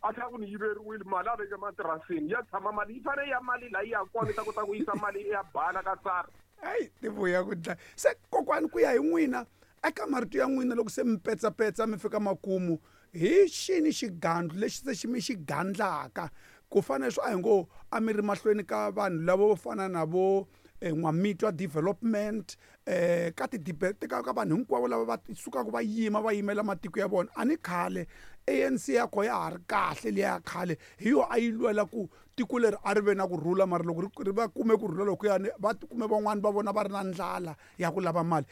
A tlhela ku ni yiveriwile mali a veke matirasini ya tshama mali yi fanele ya mali laha yi ya kona yi ta kota ku yisa mali ya bala ka SARS. Hayi ti vuya ku dlaya se kokwani ku ya hi n'wina eka marito ya n'wina loko se mi petsapetsa mi fika makumu hi xini xigandlu lexi se xi mi xi gandlaka ku fana leswi a hi ngo a mi ri mahlweni ka vanhu lava vo fana na vo N'wamitwa development ka ti ka ka vanhu hinkwavo lava va sukaka va yima va yimela matiko ya vona a ni khale A_N_C ya kona ya ha ri kahle liya ya khale hi yona a yi lwela ku tiko leri a ri ve na kurhula mara loko ri va kume kurhula lokuyani va tikume van'wani va vona va ri na ndlala ya ku lava mali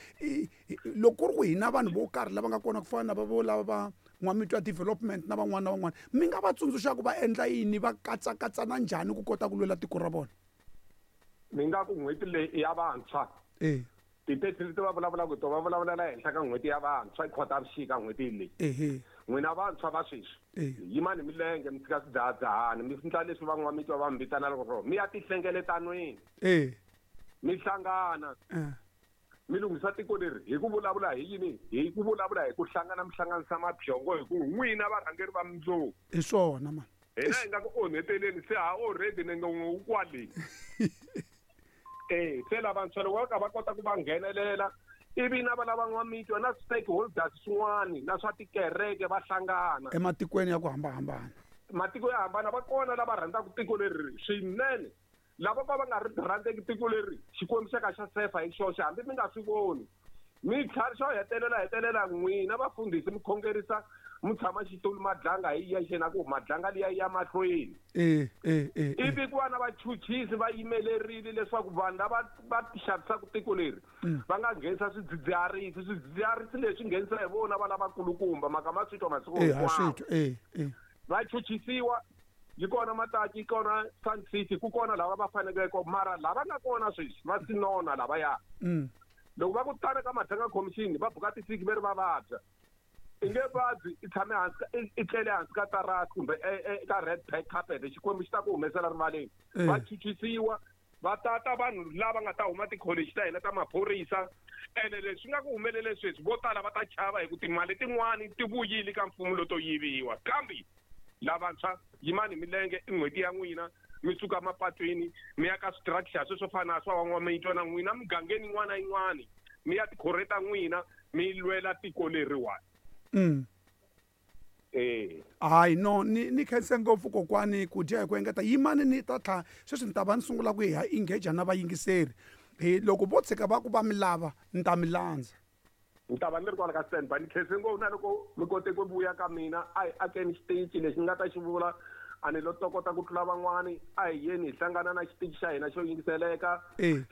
loko ku ri ku hina vanhu vo karhi lava nga kona ku fana na va vo lava va N'wamitwa development na van'wana na van'wana mi nga va tsundzuxa ku va endla yini va katsakatsana njhani ku kota ku lwela tiko ra vona. Ni nga ku n'hweti leyi i ya vantshwa. E. Ti-thirty leti va vulavulaka hi tona va vulavulela ehenhla ka n'hweti ya vantshwa i Khotavuxika n'hweti leyi. Ehe. N'wina vantshwa va sweswi E. yimani hi milenge mi tshika swidzahadzahani mi endla leswi van'wamitwa va mi vitanaka swona mi ya tihlengeletanweni E. mi hlangana E. mi lunghisa tiko leri hi ku vulavula hi yini hi ku vulavula hi ku hlangana mi hlanganisa mabyongo hi ku n'wina varhangeri va mundzuku Hi swona mani. Hina hi nga ku onheteleni se ha already nenge wun'we wu kwale. Eh se lavantshwa loko va ka va kota ku va nghenelela ivi na va lava n'wamitwa na stakeholders swin'wani na swa tikereke va hlangana. Ematikweni ya ku hambahambana. Matiko yo hambana va kona lava rhandzaka tiko leri swinene. Lava vo ka va nga ri rhandzeki tiko leri, Xikwembu xa ka xa sefa hi xoxe, hambi mi nga swi voni. Mi tlhari xo hetelela hetelela n'wina vafundhisi mi khongerisa mutshama-xitulu Madlanga hi yexe na ku Madlanga liya yi ya mahlweni. E, e, e, e. Ivi ku va na vachuchisi va yimelerile leswaku vanhu lava va xavisaka tiko leri va nga nghenisa swidzidziharisi. Swidzidziharisi leswi nghenisa hi vona va lavakulukumba, mhaka ma swi twa masiku E, ha swi hinkwawo. twa, e, e. Va chuchisiwa yi kona Mataki yi kona Sun City ku kona lava va faneleke mara lava nga kona sweswi va sinona lavaya loko va ku tana ka Madlanga Commission va buka tisiki ve ri va vabya i nge vabyi i tshame hansi ka i tlele hansi ka tarasi kumbe eka red pack carpet Xikwembu xi ta ku humesela rivaleni va chuchisiwa va tata vanhu lava nga ta huma tikholeji ta hina ta maphorisa ene leswi nga ku humelele sweswi vo tala va ta chava hi ku timali tin'wani ti vuyile ka mfumo loto yiviwa kambe lavantshwa yimani hi milenge i n'hweti ya n'wina mi suka mapatwini mi ya ka structure sweswo fana na swa van'wamitwa na n'wina mugangeni yin'wana na yin'wana mi ya tikhorhe ta n'wina mi lwela tiko leriwani. Eh. Hayi no ni ni khense ngopfu kokwani ku dya hi ku engeta yimani ni ta tlha sweswi ni ta va ni sungula ku hi engage na vayingiseri hi loko vo tshika va ku va mi lava ni ta mi landza. Ni ta va ni ri kwala ka stand by ni khense ngopfu na loko mi kote ku vuya ka mina a hi akeni xitichi lexi ni nga ta xi vula a ni lo tokota ku tlula van'wani a hi yeni hi hlangana na xitichi xa hina xo yingiseleka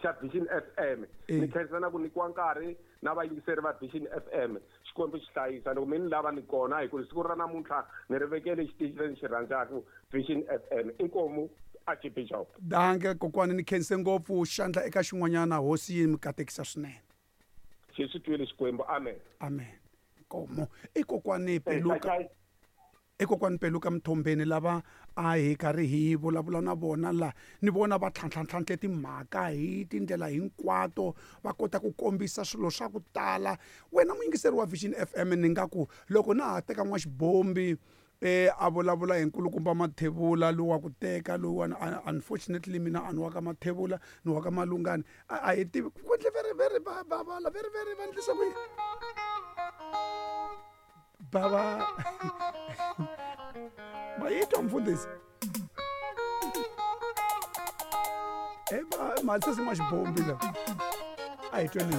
xa Vision F_M ni khensa na ku nyikiwa nkarhi na vayingiseri va Vision F_M Xikwembu xi hlayisa loko mi ni lava ni kona hi ku siku ra namuntlha ni ri vekele xitichi lexi ni xi rhandzaka Vision F_M inkomu Archbishop. Danke kokwani ni khense ngopfu xandla eka xin'wanyana hosi yi mi katekisa swinene. Xi swi twile Xikwembu. Amen. Amen. Nkomo i kokwani Peluka. I kokwani Peluka Mthombeni lava a hi karhi hi vulavula na vona la ni vona va tlhantlhantlhantlhe timhaka hi tindlela hinkwato va kota ku kombisa swilo swa ku tala wena muyingiseri wa Vision F_M ni nga ku loko na ha teka n'waxibombi a vulavula hi nkulukumba Mathebula lowu wa ku teka lowuwani unfortunately mina a ni wa ka Mathebula ni wa ka Malungani a hi tivi ku endle very very va va va very very va endlisa ku yini bava ma yi twa mfundhisi e mali sesi n'waxibombi la a hi tweni.